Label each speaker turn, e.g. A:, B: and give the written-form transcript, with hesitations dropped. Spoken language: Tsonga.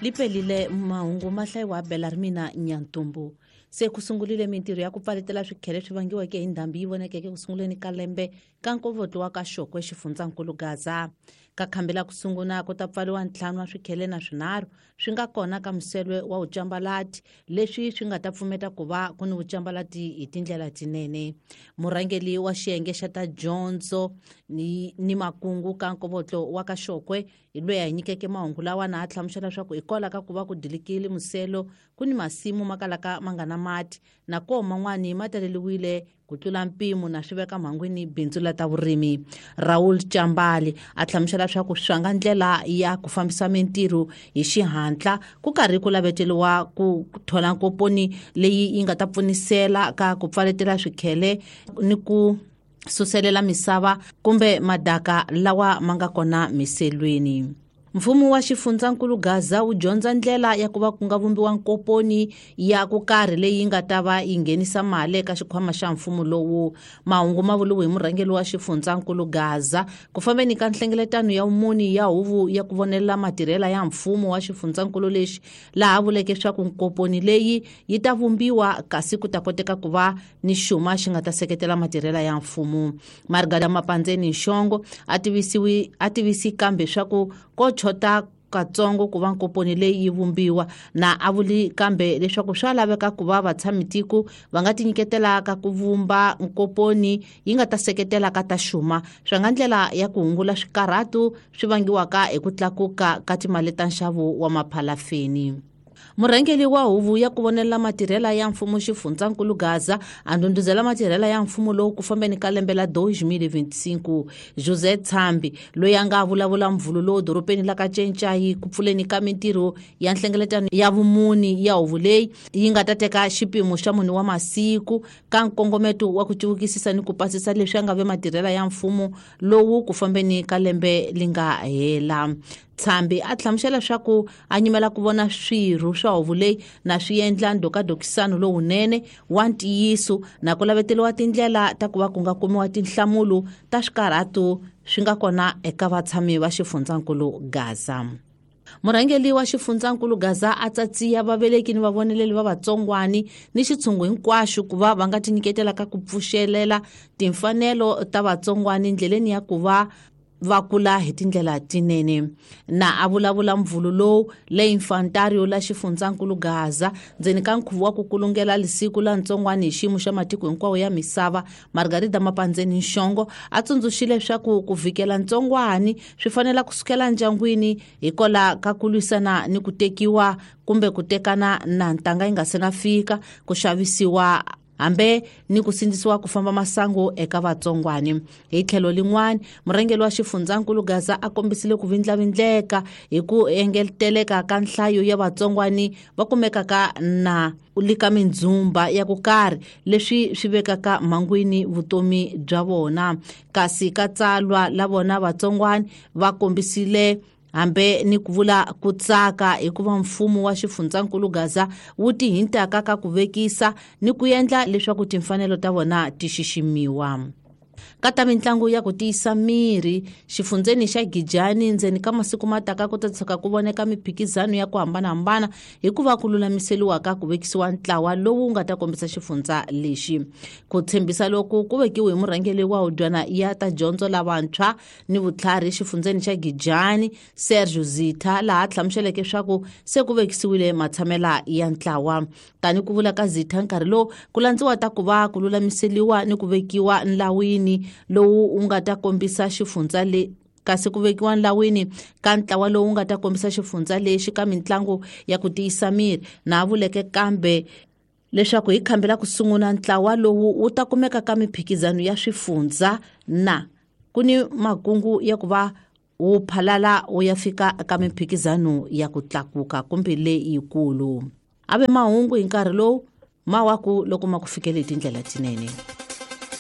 A: Lipelile mahungu ma hlayiwa bela ri mina Nyantumbu. Se ku sungurile mintirho ya ku pfaletela swikhele swi vangiweke hi ndhambi yi vonekeke ku sunguleni ka lembe ka nkovotlo wa ka Xokwe xifundzankulu Gaza. Ka khambi la ku sunguna ku ta pfariwa 5 wa swikhele na swinharhu swi nga kona ka muselwe wa vucambalati, leswi swi nga ta pfumeta ku va ku ni vucambalati hi tindlela tinene. Murhangeri wa xiyenge xa ta dyondzo ni makungu ka nkovotlo wa ka Xokwe hi loyi a hi nyikeke mahungu lawa na a hlamusela leswaku hikwalaho ka ku va ku dilikile muselo ku ni masimu ma kalaka ma nga na mati na koho man'wani ma taleliwile ku tlula mpimo na swi veka mhangwini bindzu la ta vurimi. Raul Chambali a hlamusela leswaku swi nga ndlela ya ku fambisa mintirho hi xihatla ku karhi ku laveteliwa ku thola nkoponi leyi yi nga ta pfunisela ka ku pfaletela swikhele ni ku suselela misava kumbe madaka lawa ma nga kona miselweni. Mfumo wa xifundzankulu Gaza wu dyondza ndlela ya ku va ku nga vumbiwa nkoponi ya ku karhi leyi nga ta va yi nghenisa mali eka xikhwama xa mfumo lowu. Mahungu ma vuriwe hi murhangeri wa xifundzankulu Gaza ku fambeni ka nhlengeletano ya vumuni ya huvo ya ku vonelela matirhela ya mfumo wa xifundzankulu lexi, laha vuleke swa ku nkoponi leyi yi ta vumbiwa kasi ku ta koteka ku va ni xuma xi nga ta seketela matirhela ya mfumo. Margarita Mapandzeni Nxongo a tivisi kambe swa ku ko chota katsongo ku va nkoponi leyi yi vumbiwa na a vuli kambe leswaku swa laveka ku va vatshamitiko va nga tinyiketela ka ku vumba nkoponi yi nga ta seketela ka ta xuma, swi nga ndlela ya ku hungula swikarhatu swi vangiwaka hi ku tlakuka ka timali ta nxavo wa maphalafeni. Murhangeri wa huvo ya ku vonelela matirhela ya mfumo xifundzankulu Gaza a ndhundhuzela matirhela ya mfumo lowu ku fambeni ka lembe la 2025. Jose Tshambi loyi a nga vulavula mvulu lowu doropeni la ka Cencayi ku pfuleni ka mintirho ya nhlengeletano ya vumuni ya huvo leyi yi nga ta teka xipimo xa mune wa masiku ka nkongometo wa ku civukisisa ni ku pasisa leswi a nga ve matirhela ya mfumo lowu ku fambeni ka lembe li nga hela. Tshambi a hlamusela leswaku a nyimela ku vona swirho swa huvo leyi na swi endla ndhokadokisano lowunene wa ntiyiso na ku laveteriwa tindlela ta ku va ku nga kumiwa tinhlamulo ta swikarhatu swi nga kona eka vatshami va xifundzankulu Gaza. Murhangeri wa xifundzankulu Gaza a tsatsiya vaveleki ni vavoneleli va vatsongwani ni xitshungu hinkwaxo ku va va nga tinyiketela ka ku pfuxelela timfanelo ta vatsongwani ndleleni ya ku va va kula hi tindlela tinene. Na a vulavula mvulu lowu le Infantario la xifundzankulu Gaza ndzeni ka nkhuvo wa ku kulungela lisiku la ntsongwani hi xiyimo xa matiko hinkwawo ya misava, Margarita Mapandzeni Nxongo a tsundzuxile leswaku ku vhikela ntsongwani swi fanela ku sukela ndyangwini hikwalaho ka ku lwisana ni ku tekiwa kumbe ku tekana na ntanga yi nga se na fika, ku xavisiwa hambe ni ku sindzisiwa ku famba masangu eka vatsongwani. Hi tlhelo lin'wani, murhangeri wa xifundzankulu Gaza a kombisile ku vindlavindleka hi ku engeteleka ka nhlayo ya vatsongwani va kumekaka na le ka mindzhumba ya ku karhi, leswi swi vekaka mhangwini vutomi bya vona. Kasi ka tsalwa la vona vatsongwani va kombisile hambe ni ku vula ku tsaka hikuva mfumo wa xifundzankulu Gaza wu tihintaka ka ku vekisa ni ku endla leswaku timfanelo ta vona ti xiximiwa. Ka ta mitlangu ya ku tiyisa miri xifundzeni xa Gijani ndzeni ka masiku ma taka ku ta tshuka ku voneka miphikizano ya ku hambanahambana hikuva ku lulamiseliwa ka ku vekisiwa ntlawa lowu nga ta kombisa xifundza lexi. Ku tshembisa loku ku vekiwe hi murhangeri wa hudyana ya ta dyondzo lavantshwa ni vutlhari xifundzeni xa Gijani Sergio Zitha, laha hlamuseleke leswaku se ku vekisiwile matshamela ya ntlawa. Tani ku vula ka Zitha nkarhi lowu ku landziwa ta ku va ku lulamiseliwa ni ku vekiwa nlawini lowu wu nga ta kombisa xifundza le kasi ku vekiwa nlawini ka ntlawa lowu nga ta kombisa xifundza lexi ka mitlangu ya ku tiyisa miri, na vuleke kambe leswaku hi khambi la ku sungula ntlawa lowu wu ta kumeka ka miphikizano ya swifundza na ku ni makungu ya ku va wu phalala wu ya fika ka miphikizano ya ku tlakuka kumbe leyikulu. A ve mahungu hi nkarhi lowu ma wa ku loko ma ku fikele hi tindlela tinene.